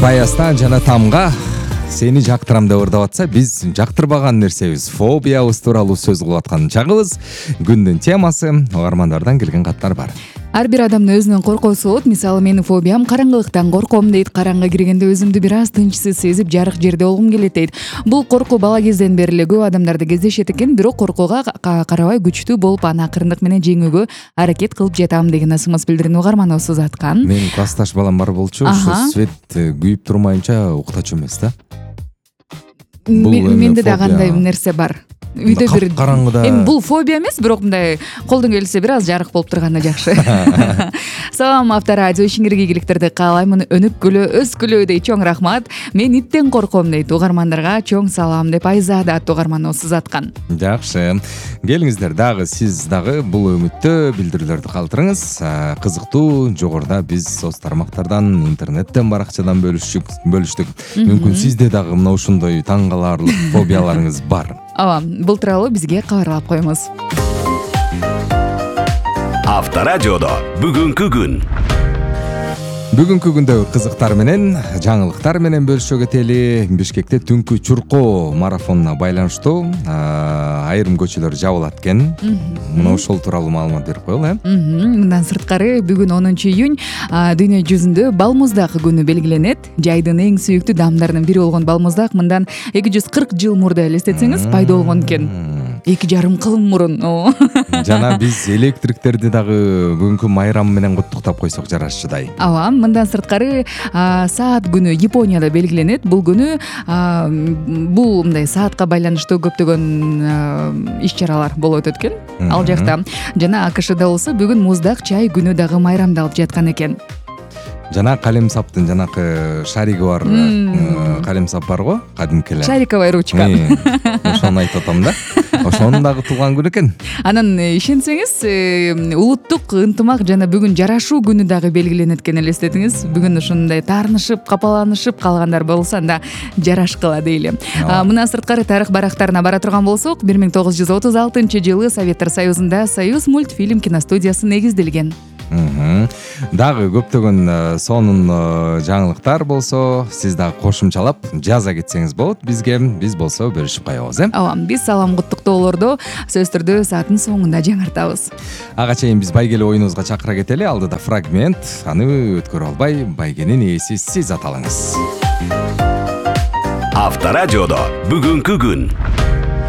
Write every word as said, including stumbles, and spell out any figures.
Баястан жана тамга сени жактырам деп ырдап атса, биз жактырбаган нерсебиз, фобиябыз тууралуу сөз кылып аткан чагыбыз. Күндүн темасы угармандардан келген каттар бар. Ар бир адамдын өзүнүн коркоосу болот. Мисалы, менин фобиям караңгылыктан корком дейт. Караңгы киргенде өзүмдү бир аз тынчсыз сезип, жарык жерде болгум келет дейт. Бул коркуу бала кезден бери эле көп адамдарда кездешет экен, бирок коркууга карабай күчтүү болуп, аны акырындык менен жеңүүгө аракет кылып жатам деген ысымыз билдирүүнү угарманыбыз узаткан. Менин классташ балам бар болчу, ошо свет күйүп турмайынча уктачу эмес да. Менде да кандай нерсе бар. Үйдө бир караңгыда. Эми бул фобия эмес, бирок мындай колдон келсе бир аз жарык болуп турганда жакшы. Салам Авторадио, ишиңерге ийгиликтерди каалаймын. Өнүккүлө, өскүлө дейт. Чоң рахмат. Мен иттен корком дейт. Угармандарга чоң салам деп Айзада аттуу угарманыбыз узаткан. Жакшы. Келиңиздер, дагы сиз дагы бул үмүттө билдирүүлөрдү калтырыңыз. Кызыктуу, жогоруда биз соц тармактардан, интернеттен, баракчадан бөлүштүк, бөлүштүк. Мүмкүн сизде дагы мына ушундай таң каларлык фобияларыңыз бар. Ооба, бул тууралуу бизге кабарлап коюңуз. Авторадиодо бүгүнкү күн. Бүгүнкү күндө кызыктар менен, жаңылыктар менен бөлүшө кетели. Бишкекте түнкү чуркоо марафонуна байланыштуу айрым көчөлөр жабылат экен. Мына ошол тууралуу маалымат берип коелу, э? Мындан сырткары, бүгүн онунчу июнь дүйнө жүзүндө балмуздак күнү белгиленет. Жайдын эң сүйүктүү даамдарынын бири болгон балмуздак мындан эки жүз кырк жыл мурда элестетсеңиз пайда болгон экен. Эки жарым кылым мурун. Жана биз электриктерди дагы бүгүнкү майрам менен куттуктап койсок жарашчыдай. Ооба, мындан сырткары саат күнү Японияда белгиленет. Бул күнү бул мындай саатка байланыштуу көптөгөн иш-чаралар болуп өтөт экен ал жакта. Жана АКШда болсо бүгүн муздак чай күнү дагы майрамдалып жаткан экен. Жана калемсаптын жанакы шариги бар калемсап бар го, кадимки эле. Шариковая ручка. Ошону айтып атам да. Ошонун дагы туулган күнү экен. Анан ишенсеңиз, улуттук ынтымак жана бүгүн жарашуу күнү дагы белгиленет экен, элестетиңиз. Бүгүн ушундай таарынышып, капаланышып калгандар болсо анда жарашкыла дейли. Мындан сырткары тарых барактарына бара турган болсок, бир миң тогуз жүз отуз алтынчы жылы Советтер Союзунда Союз мультфильм киностудиясы негизделген. Дагы көптөгөн сонун жаңылыктар болсо, сиз дагы кошумчалап жаза кетсеңиз болот бизге. Биз болсо бөлүшүп коебуз, э? Ооба, биз салам куттуктоолорду сөз түрдө сааттын соңунда жаңыртабыз. Ага чейин биз байгеле оюнубузга чакыра кетели. Алдыда фрагмент, аны өткөрө албай байгенин ээси сиз аталыңыз. Авторадиодо бүгүнкү күн.